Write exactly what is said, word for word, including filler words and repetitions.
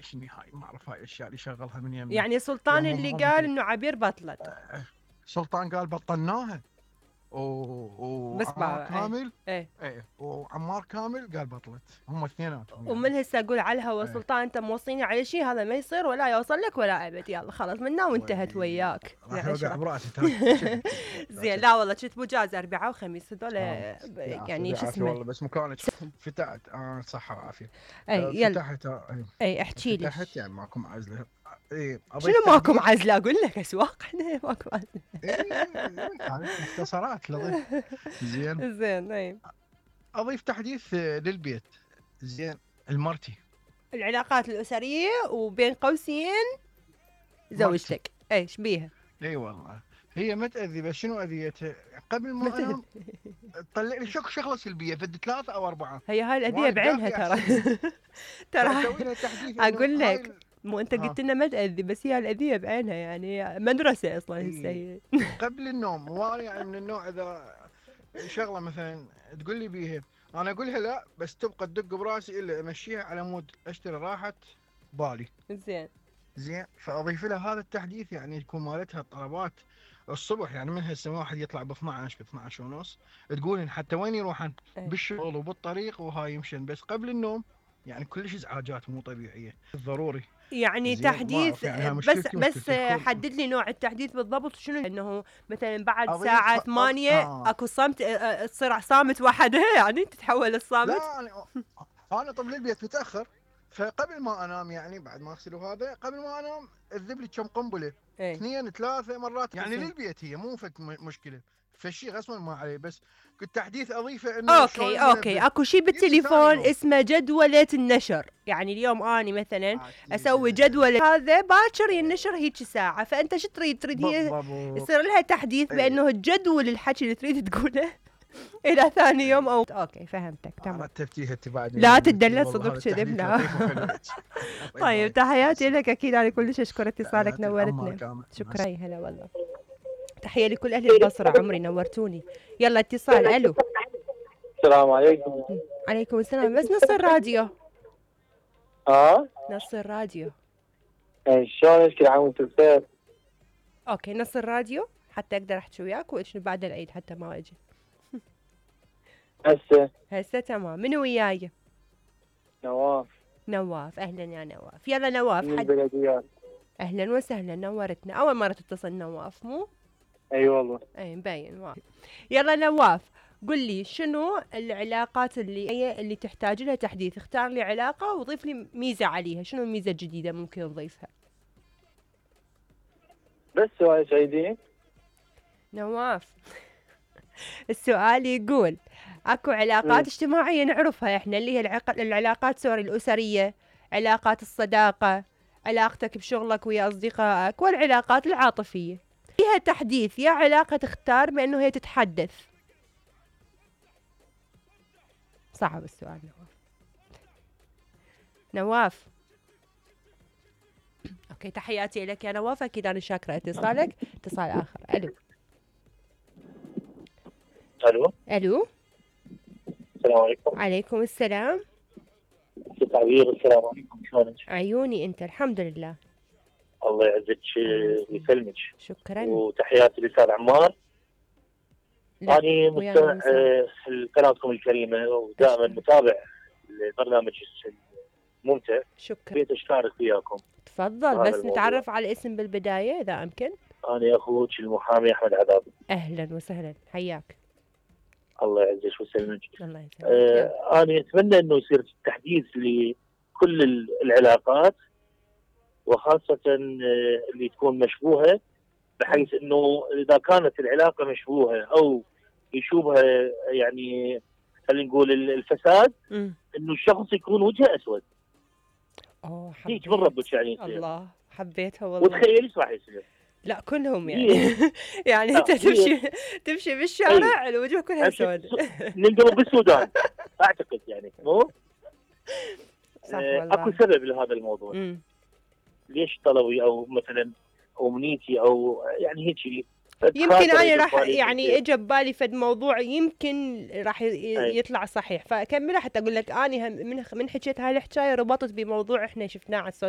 هاي شنو هاي ما اعرف هاي الاشياء اللي شغلها من يمه. يعني سلطان اللي قال انه عبير بطلت. آه سلطان قال بطلناها و... وعمار كامل ايه ايه وعمار كامل قال بطلت، هم اثنيناتهم يعني. ومن هسه اقول على الهوا ايه. سلطان انت موصيني على شيء هذا ما يصير ولا يوصل لك ولا ابد، يلا خلاص منا وانتهت وياك. راح يوقع براسي. زين لا والله كنت مجاز اربعاء وخميس هذول يعني شو اسمه والله بس مكانك فتحت اه صحه وعافيه. اي يلا فتحت اي, اي احكي لي فتحت يعني ماكو معزله. اي شنو ماكو معزله؟ اقول لك اسواق احنا ماكو معزله. اي مختصرات لطيف. زين زين اي اضيف تحديث للبيت. زين المرتي العلاقات الاسريه وبين قوسين زوجتك ايش بيها؟ اي والله هي ما تاذي، بس شنو اذيتها؟ قبل ما انام تطلع لي شك شغله سلبيه فد ثلاثه او اربعه. هي هاي الاذيه بعينها ترى. ترى اقول لك مو انت قلت لنا ما تاذي، بس هي الاذيه بعينها يعني مدرسه اصلا هسه هي. قبل النوم وانا يعني من النوع اذا شغله مثلا تقول لي بيها انا اقولها لا، بس تبقى تدق براسي الا امشيها على مود اشتري راحه بالي. زين زين فاضيف لها هذا التحديث يعني يكون مالتها الطلبات الصبح، يعني من هسه واحد يطلع ب اثنعش ب اثنعش ونص تقولن حتى وين يروحن بالشغل وبالطريق وهاي يمشن، بس قبل النوم يعني كلش ازعاجات مو طبيعيه ضروري يعني تحديث يعني بس بس حدد لي نوع التحديث بالضبط شنو، انه مثلا بعد ساعه ثمانية آه. اكو صمت تصير صامت وحدها يعني تتحول الصامت. لا انا انا طب للبيت متاخر فقبل ما انام يعني بعد ما اغسل وهذا قبل ما انام اذب لي كم قنبله ايه؟ اثنين ثلاثه مرات يعني للبيت هي مو فك مشكله فشي غصبا ما عليه، بس كنت تحديث اضيفه انه اوكي اوكي اكو شيء بالتليفون اسمه جدوله النشر، يعني اليوم اني مثلا اسوي جدوله هذا باكر ينشر هيك ساعه، فانت شو تريد؟ تريد هي يصير لها تحديث بانه تجدول الحكي اللي تريد تقوله الى ثاني يوم او اوكي فهمتك تمام. رتبتيها انت بعد لا تدلل صدق كذب لا. طيب تحياتي لك اكيد انا كلش اشكر اتصالك نورتنا. شكرا هلا والله. تحيه لكل اهل البصره عمري نورتوني. يلا اتصال الو. السلام عليكم. عليكم السلام بس نص الراديو. اه نص الراديو. اي شلونك كل عام وانت بخير. اوكي نص الراديو حتى اقدر احكي وياك وشنو بعد العيد حتى ما اجي. هسه هسه تمام. منو وياي؟ نواف. نواف اهلا يا نواف. يلا نواف من البلديات. اهلا وسهلا نورتنا. اول مره تتصل نواف مو؟ اي والله. اي مبين واضح. يلا نواف قل لي شنو العلاقات اللي هي اللي تحتاج لها تحديث؟ اختار لي علاقه وضيف لي ميزه عليها، شنو الميزه الجديده ممكن تضيفها؟ بس سؤال سعيدين نواف. السؤال يقول اكو علاقات م. اجتماعيه نعرفها احنا اللي هي العق... العلاقات سوري الاسريه، علاقات الصداقه، علاقتك بشغلك ويا اصدقائك، والعلاقات العاطفيه. فيها تحديث يا علاقه تختار بانه هي تتحدث. صعب السؤال نواف. نواف اوكي تحياتي لك يا نواف اكيد انا شاكره اتصالك. اتصال اخر الو. الو الو السلام عليكم. عليكم السلام. ست عبير السلام عليكم شلونك؟ عيوني انت الحمد لله. الله يعزك ويسلمك. شكرا. وتحياتي للاستاذ عمار. أنا مستمع لقناتكم الكريمة ودائما متابع البرنامج الممتع. شكرا. بيت أشترك وياكم. تفضل بس الموضوع. نتعرف على الاسم بالبداية إذا أمكن. أنا أخوك المحامي أحمد عذاب. أهلا وسهلا حياك. الله يعزك ويسلمك. الله يسلمك. آه أنا أتمنى إنه يصير تحديث لكل العلاقات وخاصة اللي تكون مشبوهة، بحيث انه اذا كانت العلاقه مشبوهه او يشوبها يعني خلينا نقول الفساد م. انه الشخص يكون وجهه اسود. اوه حبيت. هيك من ربك يعني يصير. الله حبيتها والله. وتخيل ايش راح يصير؟ لا كلهم يعني يعني انت تمشي تمشي بالشارع الوجه كلها سود. ننقلب بالسودان اعتقد يعني مو؟ صح والله. اكو سبب لهذا الموضوع. م. ليش طلبي او مثلا امنيتي او يعني هيك يمكن انا راح يعني اجى ببالي فد موضوع يمكن راح يطلع صحيح، فكملها حتى اقول لك اني من من حكيت هاي الحكايه ربطت بموضوع احنا شفناه على السوشيال